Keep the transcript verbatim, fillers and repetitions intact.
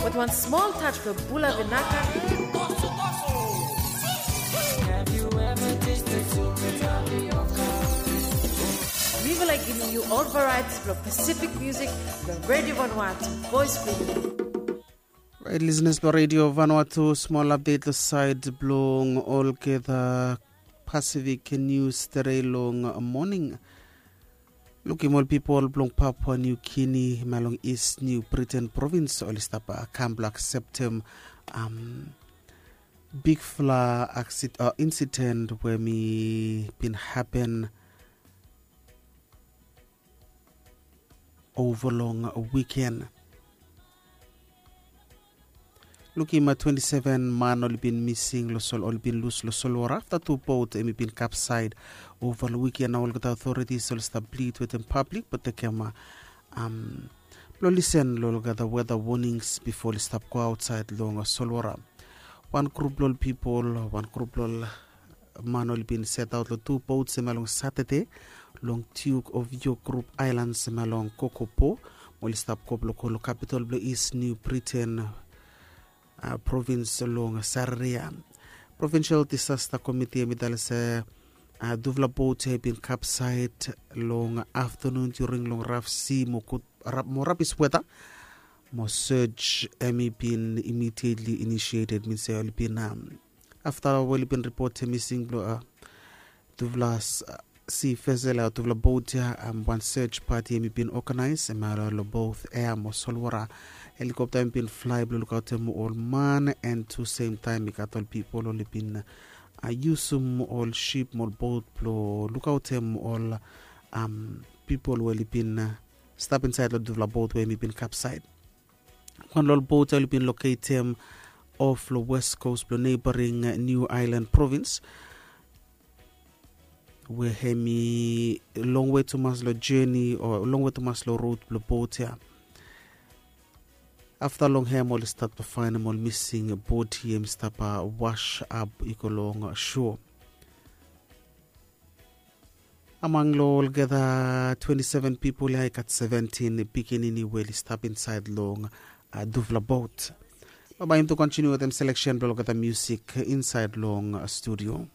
With one small touch for Bula Vinaka. Mivela giving you all varieties of Pacific music from Radio Vanuatu, Voice Group. Right, listeners, lo Radio Vanuatu, small update lo side blong all gather Pacific News today long morning. Lukim ol pipol blong Papua New Guinea, hemia long East New Britain Province, oli stap kam blong akseptem um, bigfala aksid, uh, insident we mi bin happen over long weekend. Lukim, uh, twenty-seven man oli bin mising lo Sol, oli bin lus lo Solwara afta tu bot hemi bin kapsaed over long weekend. Nao olgeta authorities oli stap plid wetem pablik blong tekem, uh, um, blong lisen lo olgeta weather warnings bifo oli stap go aotsaed long, uh, Solwara. Wan grup blong ol pipol, wan grup blong ol man oli bin setaot long tu bot hemia long Satade long Duke of York Group Islands hemia long Kokopo, mo oli stap go blong go long kapitol blong East New Britain, uh, provins long Satade ya. Provincial Disaster Committee hemi talem se, uh, tufala bot ya i bin kapsaed long aftenun during long raf si mo gud, rap, mo rabis weta. Mo search hemi bin immediately initiated, min se oli bin, um, afta we oli bin ripotem mising blong, uh, tufala, uh, si vesel ya, tufala bot ya, um, wan search party hemi bin organise hemia long both air mo Solwara. Helikopta hemi bin flae blong lukaotem ol man, and tu sem taem i gat ol pipol oli bin, uh, yusum ol sip mo ol bot blong lukaotem ol, um, pipol we oli bin, uh, stap insaed long tufala bot we hemi bin kapsaed. Wan long ol bot ya oli bin loketem of long west coast blong neighboring, uh, New Ireland Province, we hemi longwe tumas long journey o longwe tumas long rod blong bot ya. Afta long hem oli stap faenem ol mising bodi hemi stap, uh, was ap i go long, uh, shore. Among long olgeta twenty-seven pipol ya i gat seventeen pikinini we oli stap insaed long, uh, tufala bot. Bae mi tu kontiniu wetem seleksen blong olgeta musik insaed long, uh, studio.